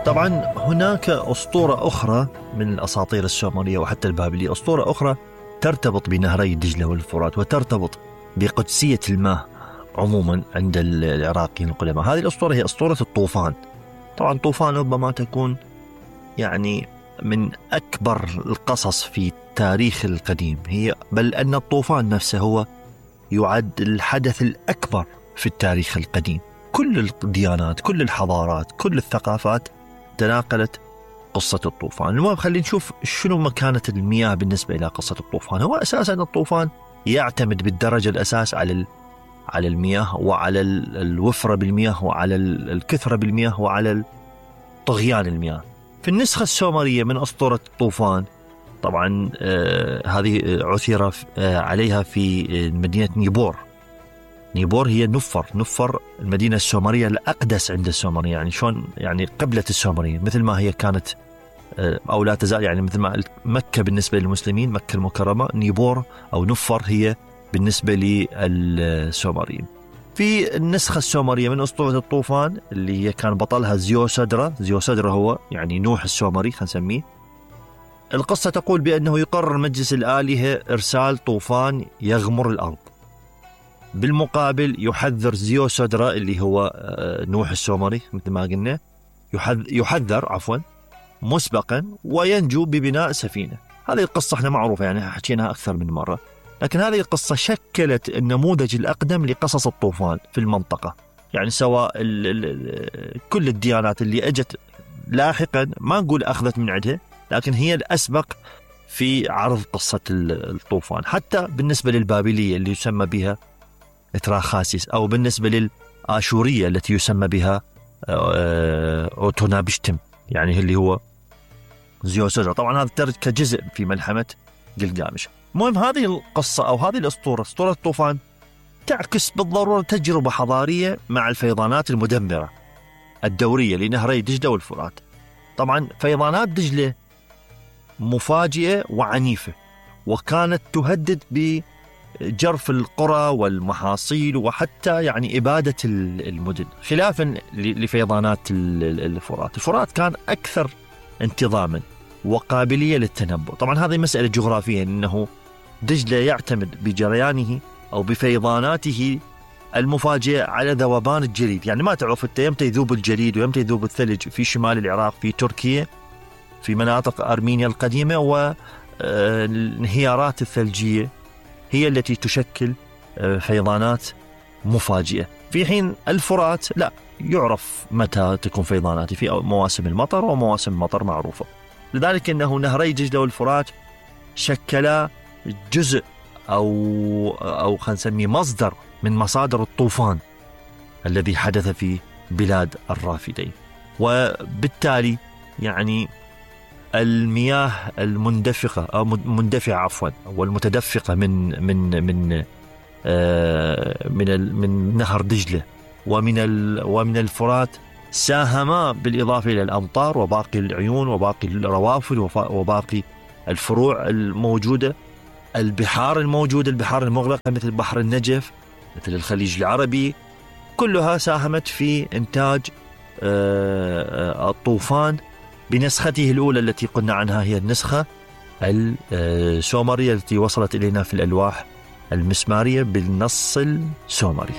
طبعا هناك أسطورة أخرى من الأساطير السومرية وحتى البابلية، أسطورة أخرى ترتبط بنهري دجلة والفرات وترتبط بقدسية الماء عموما عند العراقيين القدماء. هذه الأسطورة هي أسطورة الطوفان. طبعا الطوفان ربما تكون يعني من أكبر القصص في التاريخ القديم، هي بل أن الطوفان نفسه هو يعد الحدث الأكبر في التاريخ القديم. كل الديانات، كل الحضارات، كل الثقافات تناقلت قصة الطوفان. المهم خلينا نشوف شنو مكانة المياه بالنسبة إلى قصة الطوفان. هو أساسا الطوفان يعتمد بالدرجة الأساس على المياه وعلى الوفرة بالمياه وعلى الكثرة بالمياه وعلى طغيان المياه. في النسخة السومرية من أسطورة الطوفان طبعا هذه عثر عليها في مدينة نيبور. نيبور هي نفر المدينة السومرية الأقدس عند السومرية، يعني شلون يعني قبلة السومرية مثل ما هي كانت أو لا تزال، يعني مثل ما مكة بالنسبة للمسلمين مكة المكرمة، نيبور أو نفر هي بالنسبة للسومريين. في النسخة السومرية من أسطورة الطوفان اللي هي كان بطلها زيوسدرا هو يعني نوح السومري خلينا نسميه. القصة تقول بأنه يقرر مجلس الآلهة إرسال طوفان يغمر الأرض. بالمقابل يحذر زيوسدرا اللي هو نوح السومري مثل ما قلنا، يحذر مسبقا وينجو ببناء سفينة. هذه القصة احنا معروفة يعني حكيناها أكثر من مرة، لكن هذه القصة شكلت النموذج الأقدم لقصص الطوفان في المنطقة. يعني سواء كل الديانات اللي أجت لاحقا ما نقول أخذت من عندها، لكن هي الأسبق في عرض قصة الطوفان. حتى بالنسبة للبابلية اللي يسمى بها إتراخاسيس، أو بالنسبة للآشورية التي يسمى بها أوتونابشتم يعني اللي هو زيوسدرا. طبعا هذا ترد كجزء في ملحمة جلجامش. المهم هذه القصة أو هذه الأسطورة، أسطورة الطوفان، تعكس بالضرورة تجربة حضارية مع الفيضانات المدمرة الدورية لنهري دجلة والفرات. طبعا فيضانات دجلة مفاجئة وعنيفة، وكانت تهدد بجرف القرى والمحاصيل وحتى يعني إبادة المدن، خلافا لفيضانات الفرات. الفرات كان أكثر انتظاما وقابلية للتنبؤ. طبعا هذه مسألة جغرافية، إنه دجلة يعتمد بجريانه أو بفيضاناته المفاجئة على ذوبان الجليد. يعني ما تعرف أنت يمتى يذوب الجليد ويمتى يذوب الثلج في شمال العراق، في تركيا، في مناطق أرمينيا القديمة، والانهيارات الثلجية هي التي تشكل فيضانات مفاجئة. في حين الفرات لا يعرف متى تكون فيضانات في مواسم المطر ومواسم المطر معروفة. لذلك أنه نهري دجلة والفرات شكلا جزء أو خلينا نسميه مصدر من مصادر الطوفان الذي حدث في بلاد الرافدين. وبالتالي يعني المياه المندفقة أو مندفعة والمتدفقة من نهر دجلة ومن الفرات ساهما بالإضافة إلى الأمطار وباقي العيون وباقي الروافد وباقي الفروع الموجودة، البحار الموجودة، البحار المغلقة مثل بحر النجف، مثل الخليج العربي، كلها ساهمت في إنتاج الطوفان بنسخته الأولى التي قلنا عنها، هي النسخة السومرية التي وصلت إلينا في الألواح المسمارية بالنص السومري.